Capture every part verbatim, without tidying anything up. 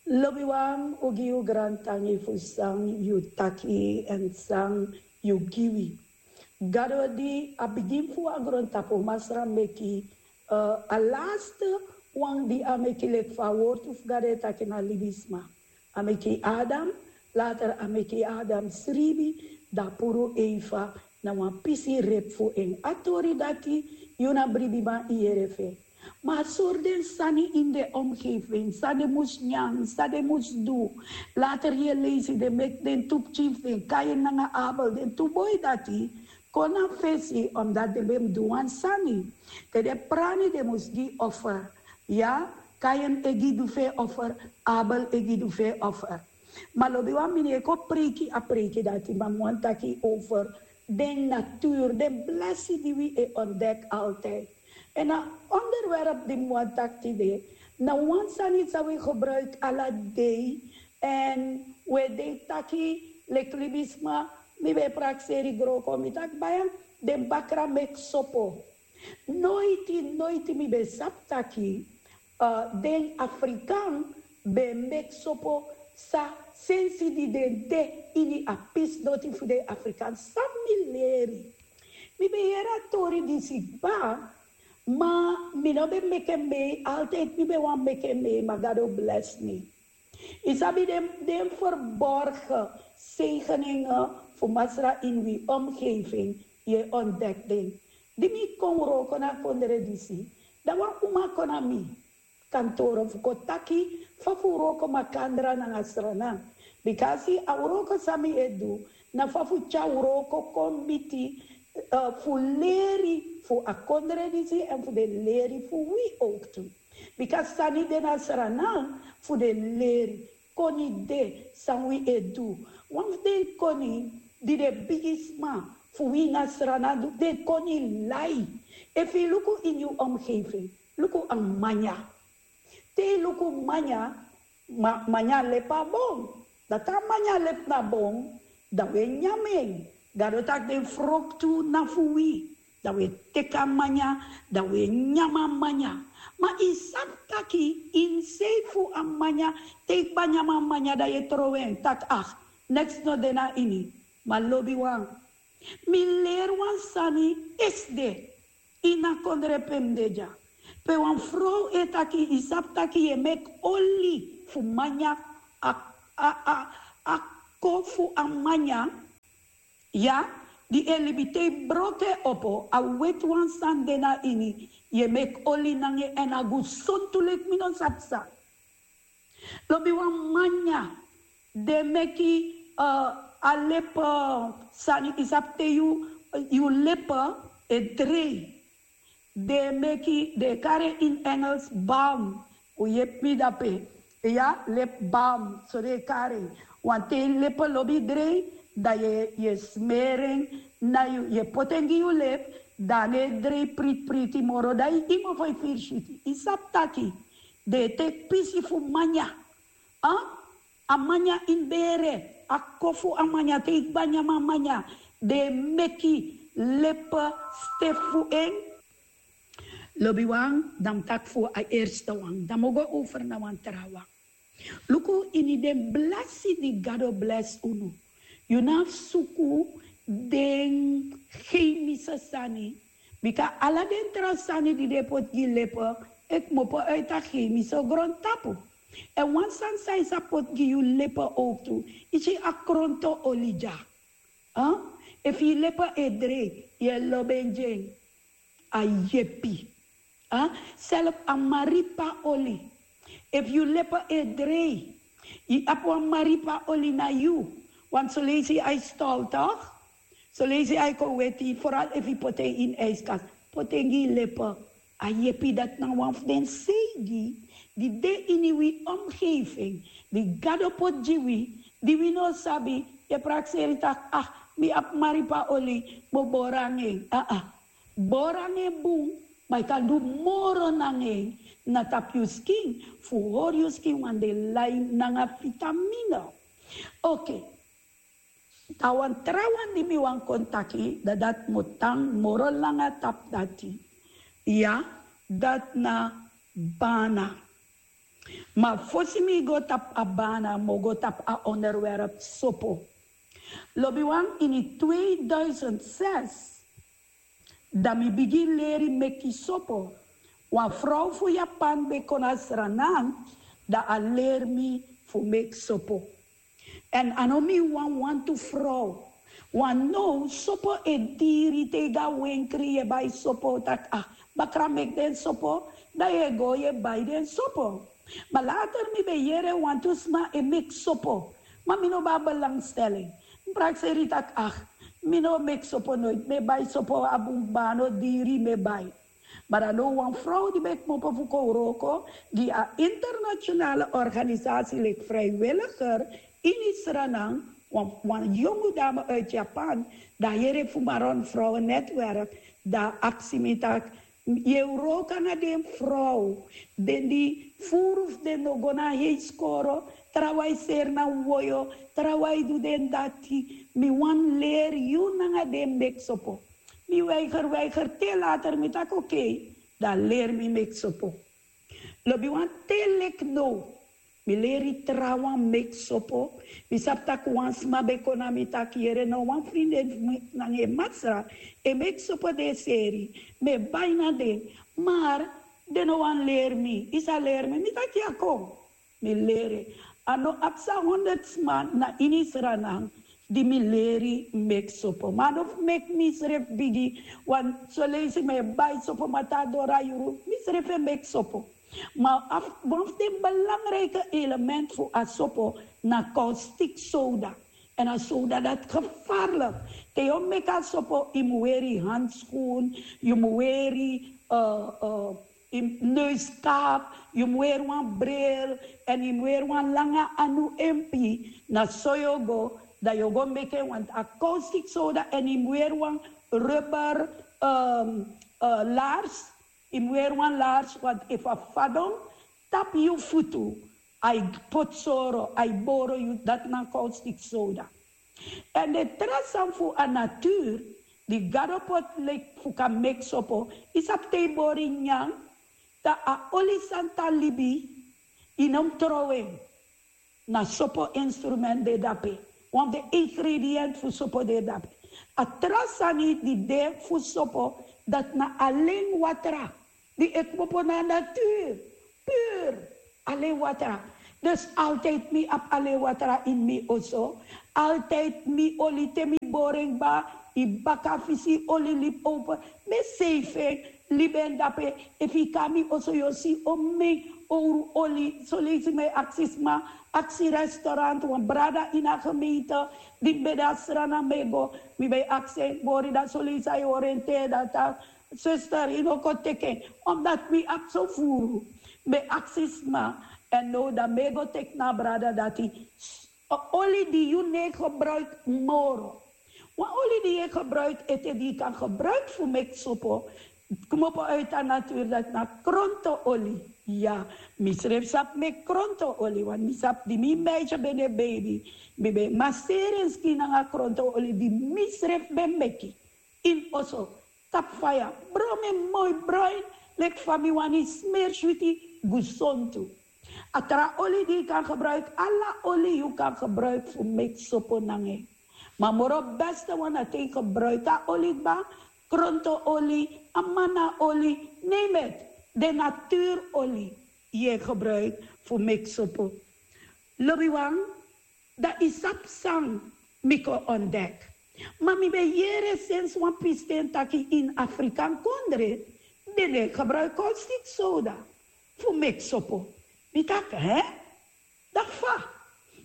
Lobiwan, un gi yu grantangi fu san yu taki èn san yu gi wi. Gado di a bigin fu a grontapu, Masra meki, eh, a laste wan di a meki, leki fa a wortu fu Gado e taki, na libisma. A meki Adam, later a meki Adam sribi, dan a puru Eva na wan pisi repu fu en. A tori dati, yu na bribiman, yu yere fu en. Ma a sori den sani ini den omgeving, san den mus nyan, san den mus du. Later yu e leisi den meki den tu pikin fu den, Kain nanga Abel, den tu boi dati kon na fesi, omdat den ben mus du wan sani. Te den prani, den mus gi offer. Ya, Kain e gi du fu en offer, Abel e gi du fu en offer. Ma lobiwan, mi no e kon preiki a preiki dati, ma mi wani taki over den natuur, den blesi di wi e ontdek altijd. Èn a onderwerp di mi wani taki tide, na wan sani san wi gebruik ala dei, èn wi e denki taki, leki libisma, mi ben e prakseri gron kon, mi taki baya, den bakra meki sopo. Noiti, noiti mi ben sabi taki, eh, den Afrikan ben meki sopo, san sensi di den de ini a pisi doti fu den Afrikan, san mi leri. Mi ben yere a tori disi kba, ma mi no ben meki en mee, altijd mi ben wani meki en mee, ma Gado blesi mi. Yu sabi den, den verborgen zegeningen fu Masra ini wi omgeving, yu e ontdek den. Di mi kon wroko na kondre disi, dan wan uma kon na mi kantoro fu kon taki fa fu wroko makandra nanga Sranan. Bikasi a wroko san mi e du, na fa fu tyari wroko kon miti, eh, fu leri fu a kondre disi èn fu den leri fu wi ook tu. Bika sani de na Sranan fu den leri, koni de san wi e du. Wan fu den koni di den bigisma fu wi na Sranan du, den koni lai. Efu yu luku ini yu omgeving, luku a manya. Te yu luku manya, ma, manya lepi na bon. Dan te a manya lepi na bon, dan wi e nyan en. Gado taki den froktu na fu wi. Dan wi e teki a manya, dan wi e nyan a manya. Ma yu sabi taki ini sei fu a manya, te yu kba nyan a manya, dan yu e trowe en, taki, ah, neks no de na ini. Ma lobiwan, mi leri wan sani esde ini a kondre pe mi de dya. Pe wan frow e taki, yu sabi taki yu e meki oli fu manya, a, a, a, a ko fu a manya, ya, di e libi, te yu broko en opo, a weti wan sani de na ini, yu e meki oli nanga en èn a gusontu leki mi no sabi san. Lobiwan, manya, den meki, eh, a lepi, eh, sani, yu sabi te yu, yu lepi e drei. Den meki, den e kari en ini Engels balm. Un yepi mi dape. Ya, lip balm, so den e kari en. Want te yu lepi lobi drei, dan yu e, yu e smeri en na yu, yu e poti en gi yu lip, dan a no e drei priti priti moro, dan yu e mofo e firi switi. Yu sabi taki den e teki pisi fu manya. A, a manya ini bere, a ko fu a manya, te yu kba nyan a manya, den e meki lepi stefu fu en. Lobiwan, dan mi taki fu a eerste wan, dan mi o go over na wan trawan. Luku ini den blesi di Gado blesi unu. Yu no abi suku den chemische sani. Bika ala den tra sani di den poti gi lepi e kmopo uit a chemische grontapu. Èn wan sani san yu sa poti gi yu lepi ook tu, yu si a kronto oli dya. Efu yu lepi e drei, yu e lobi en gi en. A yepi. Self a maripa oli. Efu yu lepi e drei, yu abi wan maripa oli na yu. Want soleisi a e stol toch? Soleisi a e kon weti, vooral efu yu poti en ini ijskast. Poti en gi yu lepi. A yepi. Dati na wan fu den seigi di de ini wi omgeving, di Gado poti gi wi, di wi no sabi. Yu e prakseri taki, ah, mi abi maripa oli, mi o bori nanga en. Aa. Bori nanga en bun, ma yu kan du moro nanga en na tapu yu skin, fu hori yu skin wan de lai nanga vitamine. Oké. Dan wan trawan di mi wani kon taki, dan dati mi o tan moro langa tapu dati. Ya, dati na bana. Ma fosi mi go tapu a bana, mi o go tapu a onderwerp sopo. Lobiwan, ini tweeduizend zes, dan mi bigin leri meki sopo. Wan frow fu Japan ben kon na Sranan, dan a leri mi fu meki sopo. Èn a no mi wan wantu frow. Wan now sopo e diri, te i go a wenkri, yu e bai sopo, taki, ah, bakra meki den sopo, dan yu e go yu e bai den sopo. Ma later mi ben yere wantu sma e meki sopo. Ma mi no ben abi belangstelling. Mi prakseri taki, ah, mi no meki sopo noiti, mi e bai sopo a bun kba, a no diri, mi e bai. Ma dan now wan frow di ben kmopo fu kon wroko gi a internationale organisatie leki vrijwilliger ini Sranan, wan, wan yongu dame uit Japan, dan a yere fu Maron Vrouwen Netwerk, dan a aksi mi taki, yu e wroko nanga den frow, den di furu fu den no go na heiskoro, trawan e seri na woyo, trawan e du den dati, mi wani leri yu nanga den meki sopo. Mi weiger, weiger, te later mi taki oké, dan leri mi meki sopo. Lobiwan, te leki now, mi leri trawan meki sopo. Mi sabi taki wan sma ben kon na mi taki, yere, na wan vriendin fu mi nanga en masra e meki sopo den seri. Mi e bai na den, maar den no wani leri mi. I sa leri mi? Mi taki ya, kon. Mi leri. A no abi san honderd sma na ini Sranan di mi leri meki sopo. Ma a no fu meki misrefi bigi, want soleisi mi e bai sopo, ma te a doro a yuru, misrefi e meki sopo. Ma a wan fu den belangrijke element fu a sopo na caustic soda. Èn a soda dati gevaarlijk. Te yu o meki a sopo, yu mu weri handschoen, yu mu weri, eh, eh, yu mu neuskap, yu mu weri wan bril, èn yu mu weri wan langa anu empi. Na so yu o go, dan yu o go meki en, want a caustic soda, èn yu mu weri wan rubber, ehm, eh, laars, yu mu weri wan laars, want efu a fadon tapu yu futu, a e poti soro, a e boro yu, dati na caustic soda. Èn den tra sani fu a natuur, di Gado poti leki fu kan meki sopo, i sabi, te i bori nyanyan, dan a oli san tan libi, i no mu trowe en. Na sopo instrument de dape. Wan fu den ingrediënt fu sopo de dape. A tra sani di de fu sopo, dati na alen watra di e kmopo na natuur. Puur alen watra. Dus altijd mi abi alen watra in mi oso. Altijd mi oli, te mi bori en kba, i baka fisi oli libi open. Mi e seifi en, libi en dape. Efu i kon na mi oso yu o si omeni owru oli. Soleisi mi e aksi sma, aksi restaurant, wan brada ini a gemeente di mi ben de a Sranan, mi e go, mi ben e aksi en, bori, dan soleisi a e oriënteer, dan taki, zuster, yu no kon teki en, omdat mi abi so furu. Mi e aksi sma, èn now dan mi e go teki na a brada dati, s-, oli di yu no e gebruik moro. Wan oli di yu e gebruik ete, di yu kan gebruik fu meki sopo, kmopo uit a natuur, dati na kronto-oli. Ya, misrefi sabi meki kronto-oli, want mi sabi di mi meisje ben de baby, mi ben e maseri en skin nanga kronto-oli di misrefi ben meki ini oso, tapu faya, bron en moi broin, leki fa mi wani, smeri switi, gesontu. A tra oli di yu kan gebruik, ala oli yu kan gebruik fu meki sopo nanga en. Ma moro beste wan na te yu gebruik a oli kba, kronto-oli, amana-oli, name it, den natuur-oli yu e gebruik fu meki sopo. Lobiwan, dan i sabi san mi kon ontdek. Ma mi ben yere sensi wan pisten taki ini Afrikan kondre den no e gebruik caustic soda fu meki sopo. Mi taki, hè? Dan fa?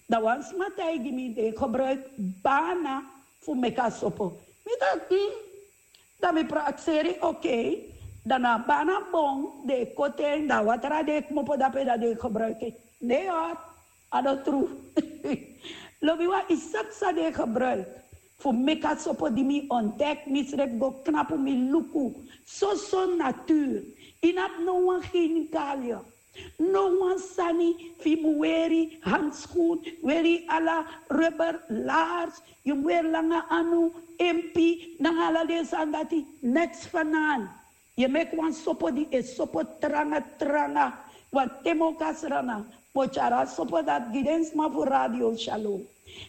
Dan wan sma taigi mi den e gebruik bana fu meki a sopo. Mi taki, hmm, Dan mi prakseri, oké. Dan na a bana bon den e koti en, dan a watra di e kmopo dape, dan den e gebruik en. Nee hoor, a no tru. Lobiwan, i sabi san den e gebruik fu meki a sopo di mi ontdek, misrefi go knapu, mi luku. Soso natuur. I no abi no wan chemicaliën. No wan sani fu i mu weri, handschoen, weri ala rubber laars, yu mu weri langa anu, empi, nanga ala den sani dati, neks fanan. Yu e meki wan sopo di e sopo tranga tranga. Wan te mi o kon na Sranan, Mi o tyari a sopo dati gi den sma fu Radio Shalom.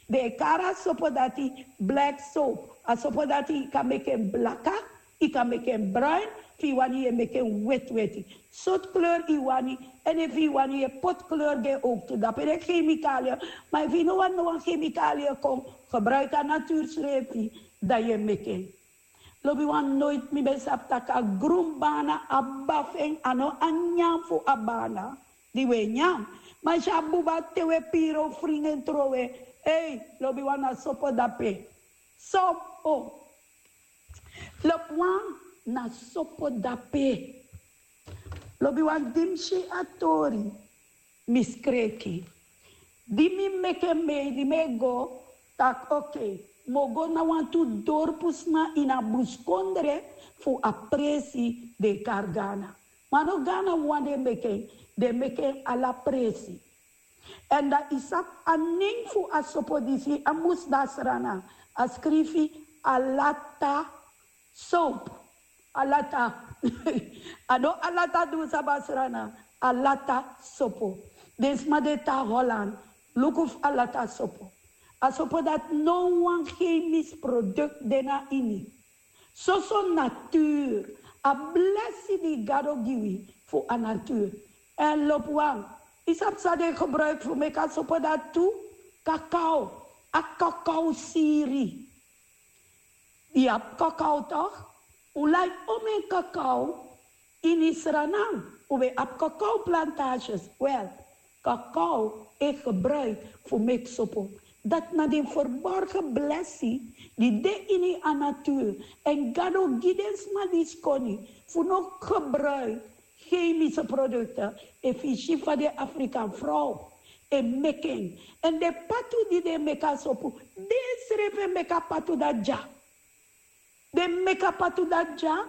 Den e kari a sopo dati black soap. A sopo dati yu kan meki en blaka, yu kan meki en bruin, efu yu wani yu e meki en wetiweti. Sortu kleur yu wani, èn efu yu wani yu e poti kleur gi en owktu. Dape den kemikalie, ma efu yu no wani no wan kemikalie kon, gebruiki a natuur srefi, dan yu e meki en. Lobiwan, noiti mi ben sabi tak' a grun bana abi bafu en, a no a nyan fu a bana di wi e nyan. Ma yu si a buba te wi e piri, o fringi en trowe. Ei, lobiwan, na sopo dape. Sopo. Lobiwan, na sopo dape. Lobiwan, di mi si a tori, mi skreki. Di mi meki en mei, di mi e go, tak' oké, mi o go na wantu dorpusma ini a buskondre fu a presi den e kari Gana. Ma no Gana wawan den meki en, den meki en ala presi. Èn dan yu sabi a nen fu a sopo disi, a mus de na Sranan, a skrifi Alata soap. Alata. A no Alata di un sabi na Sranan, Alata sopo. Den sma di e tan na Holland, luku fu Alata sopo. A sopo dati no wan chemisch product de na ini. Soso natuur, a blesi di Gado gi wi fu a natuur. Èn lobiwan, yu sabi san den gebruiki fu meki a sopo dati tu? Kakao, a kakao siri. Yu abi kakao toch? Un lai omeni kakao. Ini Sranan un ben abi kakao plantages. Wel, kakao e gebruiki fu meki sopo. Dati na den verborgen blesi di de ini a natuur. Èn Gado gi den sma disi koni fu no gebruiki chemische producten. Efu yu si fa den Afrikan frow e meki en, èn den patu di den e meki a sopo, den srefi e meki a patu dati dya. Den meki a patu dati dya.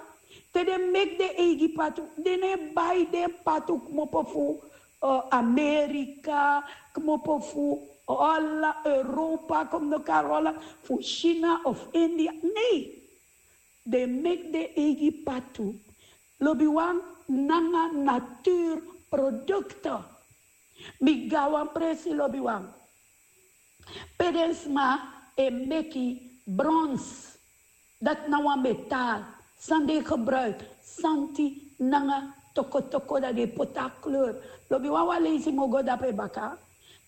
Te den meki den eigi patu, den no e bai den patu kmopo fu, eh, Amerika, kmopo fu Hola-, Europa, kon mi no kari Hola, fu China of India. Nee. Den meki den eigi patu. Lobiwan, nanga natuurprodukten. Mi go na wan presi, lobiwan, pe den sma e meki brons. Dati na wan metaal san den e gebruiki, santi nanga tokotoko, dan den e poti a kleur. Lobiwan, wan leisi mi o go dape baka.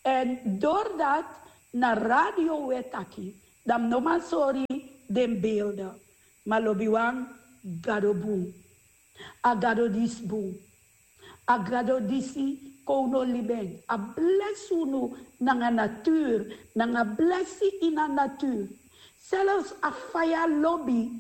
Èn doordat na radio un e taki, dan mi no man sori den beelden. Ma lobiwan, Gado bun. A Gado disi bun. A Gado disi kon no libi en. A blesi unu nanga natuur, nanga blesi ini a natuur. Zelfs a faya lobi.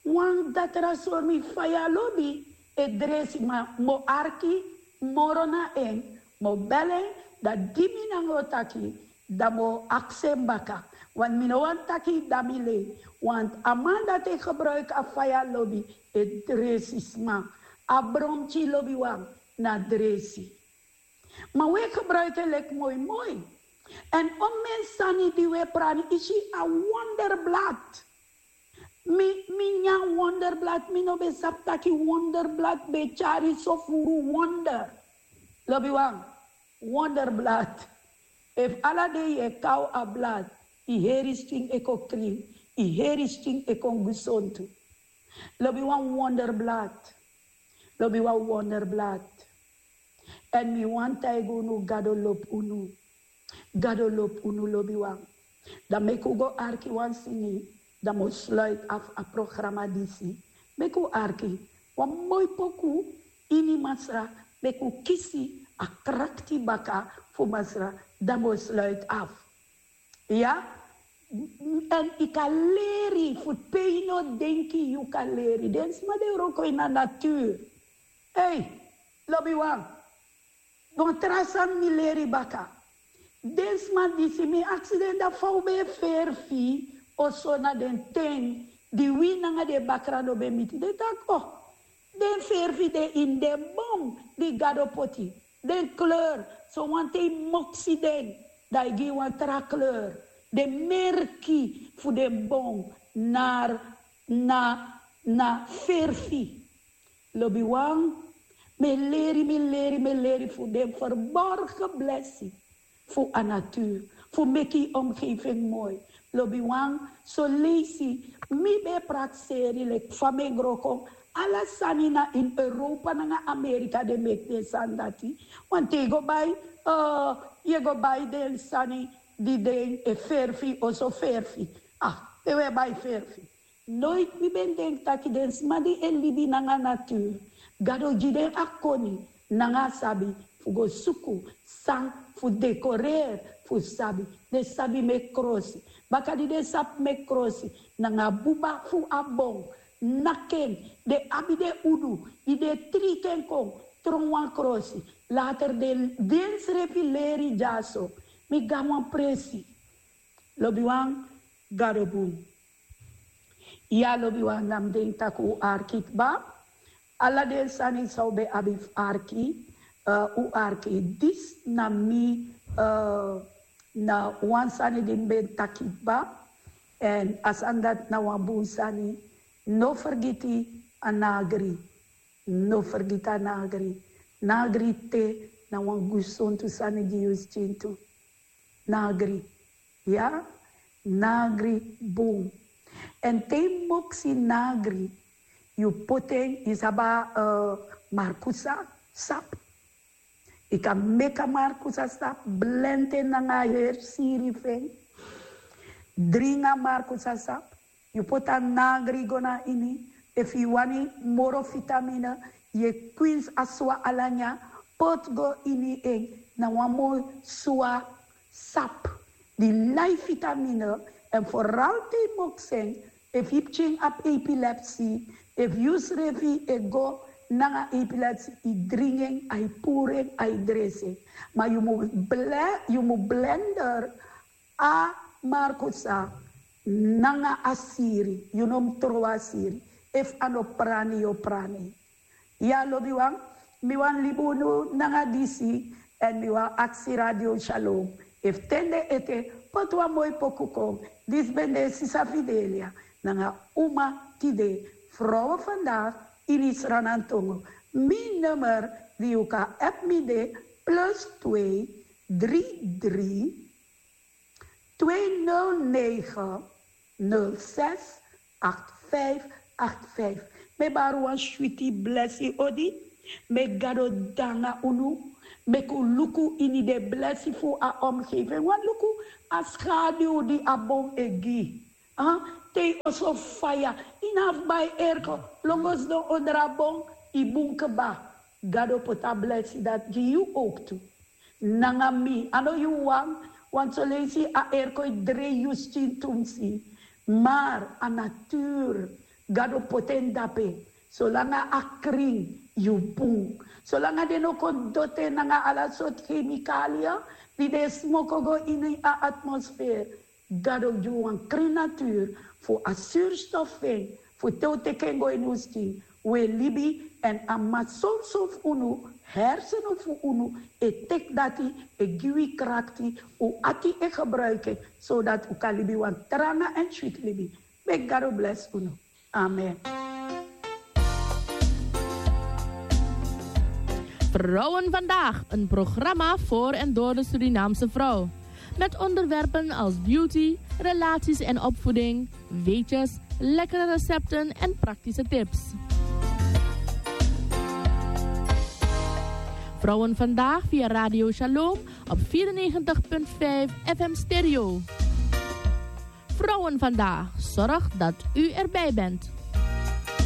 Wan datra sori mi, faya lobi e dresi, ma mi o arki moro na en, mi o bel en, dan di mi nanga en o taki, dan mi o aksi en baka. Want mi no wani taki dan mi lei. Want a man dati e gebruiki a faya lobi e dresi sma. A bromki, lobiwan, na dresi. Ma un e gebruiki en leki moimoi. Èn omeni sani di un e prani, yu si a wonderblad. Mi, mi nyan wonderblad, mi no ben sabi taki wonderblad ben tyari so furu wonder. Lobiwan, wonderblad. Efu ala dei yu e kaw a blad, yu heri skin e kon krin, yu heri skin e kon gesontu. Lobiwan, wonderblad. Lobiwan, wonderblad. Èn mi wani taigi unu, Gado lobi unu. Gado lobi unu, lobiwan. Dan meki un go arki wan singi, dan mi o sluit af a programa disi. Meki un arki wan moi poku ini Masra, meki un kisi a krakti baka fu Masra, dan mi o sluit af. Ya, èn yu kan leri fu pe yu no denki yu kan leri. Den sma di e wroko ini a natuur. Ei, lobiwan, wan tra sani mi leri baka. Den sma disi, mi aksi den, dan fa un ben e ferfi oso na den ten di wi nanga den bakra no ben miti? Den taki, oh, den ferfi de ini den bon di Gado poti. Den kleur, so wanten yu moksi den, dan yu gi wan tra kleur. Den merki fu den bon na, na, na ferfi. Lobiwan, Mi e leri, mi e leri, mi e leri fu den verborgen blessing fu a natuur, fu meki yu omgeving moi. Lobiwan, so leisi mi ben e prakseri leki fa mi e gro kon. Ala sani na ini Europa nanga Amerika den meki den sani dati. Want te yu go bai, eh, yu e go bai den sani di den e ferfi, oso ferfi. Ah, te wi e bai ferfi. Noiti mi ben denki taki den sma di e libi nanga natuur, Gado gi den a koni nanga a sabi fu go suku san fu dekoreri fu sabi. Den sabi meki krosi. Baka di den sabi meki krosi nanga buba fu a bon, naki en, den abi den udu di den e triki en kon tron wan krosi. Later den, densrefi leri dyaso. Mi gi wan presi. Lobiwan, Gado bun. Ya, lobiwan, na mi denki tak' un arki kba. Ala den sani san un ben abi fu arki, eh, un arki. Disi na mi, eh, na wan sani di mi ben taki kba. Èn a sani dati na wan bun sani. No fergiti a nagri. No fergiti a nagri. Nagri te na wan gesontu sani gi yu skin tu. Nagri. Ya, nagri bun. Èn te yu moksi nagri, yu poti en, yu sabi a, eh, markusa sap. Yu kan meki a markusa sap, blendi en nanga a heri siri fu en. Dringi a markusa sap. Yu poti a nagri go na ini. Efu yu wani moro vitamine, yu e kwinsi a swa ala nyan, poti go ini en. Na wan moi swa sap di lai vitamine. Èn foral te yu moksi en, efu yu pikin abi epilepsi, efu yusrefi e go nanga epilepsi, yu dringi en, a e puru en, a e dresi en. Ma yu mu ble-, yu mu blender a markusa nanga a siri, yu no mu trowe a siri. Efu a no prani, yu o prani. Ya, lobiwan, mi wani libi unu nanga disi, èn mi wani aksi Radio Shalom efu ten den ete poti wan moi poku kon. Disi ben de Sisa Fidelia nanga Uma Tide, Vrouwen Vandaag, ini Sranan tongo. Mi nummer di yu kan app mi de plus twee drie drie twee nul negen nul zes acht vijf acht vijf. Mi e bari wan switi blesi odi. Meki Gado de nanga unu. Meki un luku ini den blesi fu a omgeving. Wani luku a skadu di a bon e gi. Ah, te yu oso faya, yu no abi fu bai airco, lon go sidon onder a bon, yu bun kba. Gado poti a blesi dati gi yu ook tu. Nanga mi, a no yu wan, want soleisi a airco e drei yu skin tumsi. Maar a natuur, Gado poti en dape. Solanga a krin, yu bun. Solanga den no kon doti en nanga ala sortu kemikalia di den e smoko go ini a atmosfeer. Gado gi wan krin natuur fu a zuurstof fu en, fu te un teki en go ini un skin, un e libi, èn a masolso fu unu, hersenen fu unu e teki dati, e gi wi krakti, un ati e gebruiki en, zodat un kan libi wan tranga èn switi libi. Meki Gado blesi unu. Amen. Vrouwen Vandaag, een programma voor en door de Surinaamse vrouw. Met onderwerpen als beauty, relaties en opvoeding, weetjes, lekkere recepten en praktische tips. Vrouwen Vandaag via Radio Shalom op vierennegentig punt vijf F M Stereo. Vrouwen Vandaag zorgt dat u erbij bent.